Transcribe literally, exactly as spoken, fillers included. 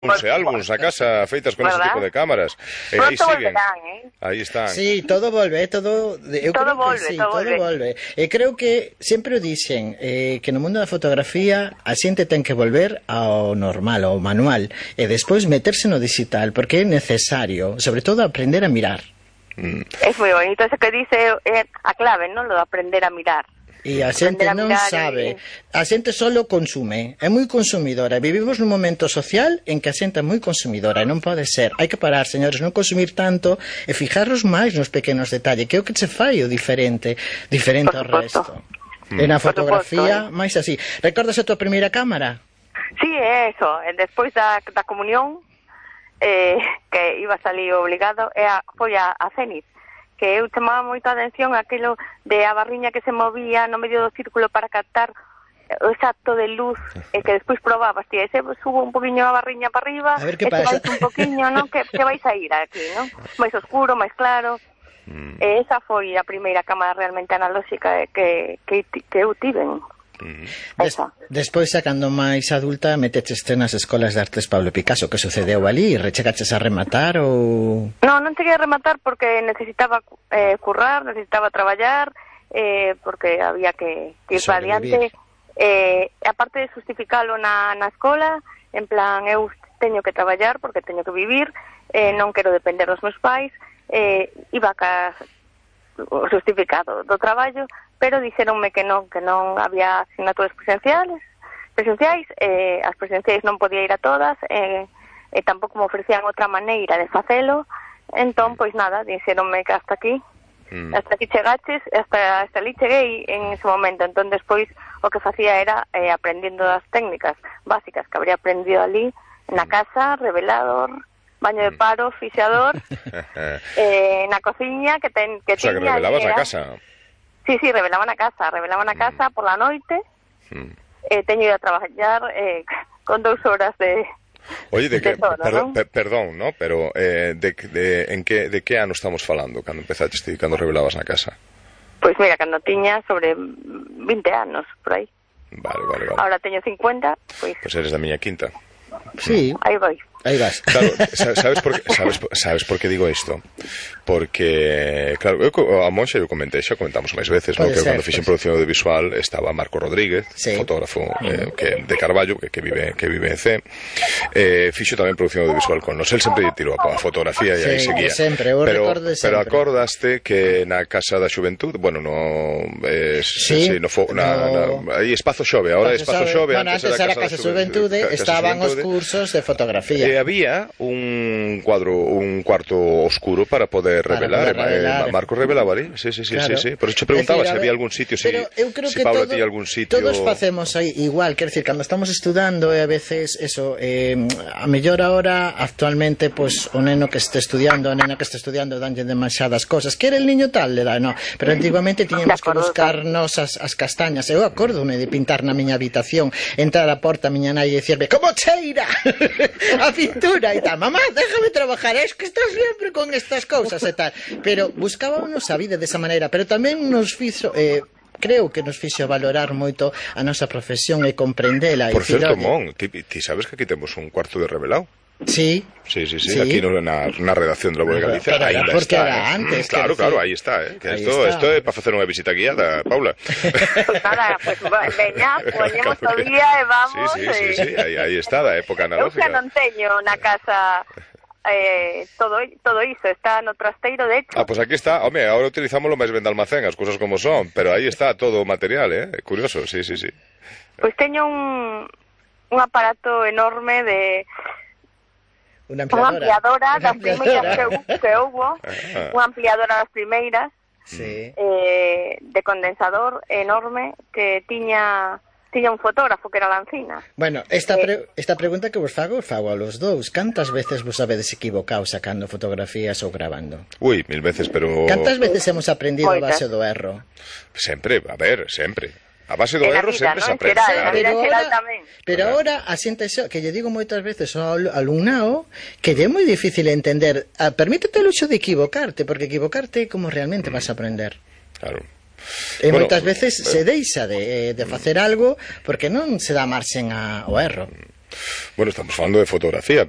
Unse álbuns a casa feitas con ese tipo de cámaras. E aí siguen. Eh? Aí están. Sí, todo volve, todo eu todo creo volve, que sí, todo, todo volve. E creo que sempre o dixen eh, que no mundo da fotografía a xente ten que volver ao normal, ao manual, e despois meterse no digital, porque é necesario, sobre todo aprender a mirar. Mm. É moi bonito eso que dice, é a clave, non? Lo de aprender a mirar. E a xente non sabe, a xente solo consume, é moi consumidora. Vivimos nun momento social en que a xente é moi consumidora e non pode ser. Hai que parar, señores, non consumir tanto e fijarnos máis nos pequenos detalles, que é o que se fai o diferente, diferente ao resto. E na fotografía, máis así. Recordas a tua primeira cámara? Sí, é eso, despois da, da comunión, eh, que iba a salir obligado, e a, foi a, a Zenith, que eu chamaba moito a atención aquilo de a barriña que se movía no medio do círculo para captar o exacto de luz, e que despois probabas, tía, ese subo un poquinho a barriña para arriba, ese vais un poquinho, non? Que, que vais a ir aquí, non? Máis oscuro, máis claro. Mm. E esa foi a primeira cámara realmente analóxica que, que, que eu tiven. Mm. Des, despois, sacando máis adulta, meteches nas escolas de artes Pablo Picasso. Que sucedeu ali? Rechegaches a rematar ou...? Non, non cheguei a rematar porque necesitaba eh, currar, necesitaba traballar, eh, porque había que, que ir para adiante. Eh, aparte de justificalo na, na escola, en plan, eu teño que traballar porque teño que vivir, eh, non quero depender dos meus pais, eh, iba ca o justificado do traballo, pero dixeronme que non, que non había asignaturas presenciales, presenciais, eh, as presenciais non podía ir a todas, eh, e tampouco me ofrecían outra maneira de facelo, entón, pois nada, dixeronme que hasta aquí, mm. hasta aquí chegaches, hasta, hasta ali cheguei en ese momento, entón despois o que facía era eh, aprendendo as técnicas básicas que habría aprendido ali, na casa, revelador, baño de paro, fixador, eh, na cociña que, ten, que o sea, tiña... que revelabas na casa. Sí, sí, revelaba na casa, revelaba na casa mm. por la noite, mm. eh, teño ido a traballar eh, con dous horas de... Oye, de que, de todo, perdón, ¿no? per, perdón, ¿no? Pero eh, de, de, en que, de que ano estamos falando cando empezaste ti, cando revelabas na casa? Pois mira, cando tiña sobre vinte anos, por aí. Vale, vale, vale. Ahora teño cincuenta, pois... Pois eres da miña quinta. Sí. Aí vai. Aí vas. Claro, sabes por que, sabes, sabes por que digo isto? Porque, claro, eu, a Monxa eu comentei, xa comentamos máis veces, no? Que cando fixen producción audiovisual estaba Marco Rodríguez, sí. fotógrafo eh, que, de Carballo, que, que vive que vive en C. Eh, fixo tamén producción audiovisual con nos. El sempre tirou a fotografía e aí sí, seguía. Sempre, eu pero, recorde sempre. Pero acordaste que na Casa da Xuventud, bueno, no eh, sí, sí, no, fo, na, no... na, aí Espazo Xove, ahora Espazo Xove, bueno, antes, antes era Casa da Xuventude, estaban os cursos de fotografía. E había un cuadro, un cuarto oscuro para poder revelar, para poder revelar. Eh, Marco revelaba ali, sí, sí, sí, claro. sí, sí. Por eso te preguntaba decir, se había algún sitio, si, si Paula todo, tiña algún sitio. Todos facemos aí igual, quer decir, cando estamos estudando e a veces eso, eh, a mellor ahora actualmente, pues o neno que este estudiando, a nena que este estudiando danlle demasiadas cosas, que era el niño tal, le da, no, pero antiguamente tiñamos que buscarnos as, as castañas. Eu acórdome de pintar na miña habitación, entrar a porta a miña nai e dicirme, como cheira a pintura e tal, mamá, déjame trabajar, es que estás siempre con estas cousas e tal, pero buscábamos a vida desa maneira, pero tamén nos fixo eh, creo que nos fixo valorar moito a nosa profesión e comprendela. Por certo, Mon, ti, ti sabes que aquí temos un cuarto de revelado? Sí. Sí, sí, sí, sí. Aquí no, na, na redacción de La Voz de Galicia, pero, aí porque está, era eh. antes. Claro, claro, aí está, eh. Que esto, esto é para facer unha visita guiada, Paula. Pues nada, pues veña, poñemos o día e vamos. Sí, sí, sí, sí, aí, aí está, da época analógica. Eu que non teño na casa... Eh, todo todo iso está no trasteiro, de hecho. Ah, pues aquí está, home, ahora utilizámoslo máis ben de almacén, as cousas como son, pero aí está todo o material, eh, curioso, sí, sí, sí. Pois pues teño un un aparato enorme de unha ampliadora, unha ampliadora das primeiras que, que houbo, unha ampliadora das primeiras, sí. eh, de condensador enorme que tiña tiña un fotógrafo que era Lancina. Bueno, esta, pre esta pregunta que vos fago, fago a los dous. Cantas veces vos sabedes equivocado sacando fotografías ou grabando? Ui, mil veces, pero... Cantas veces hemos aprendido a base do erro? Sempre, a ver, sempre. A base do erro vida, sempre ¿no? se aprende. Xeral, pero ahora, ahora, pero ahora a xente xo, que lle digo moitas veces ao alumnado que lle é moi difícil entender. Ah, permítete o luxo de equivocarte, porque equivocarte é como realmente vas a aprender. Claro. E bueno, moitas veces se deixa de, de facer algo porque non se dá marxen ao erro. Bueno, estamos falando de fotografía, pero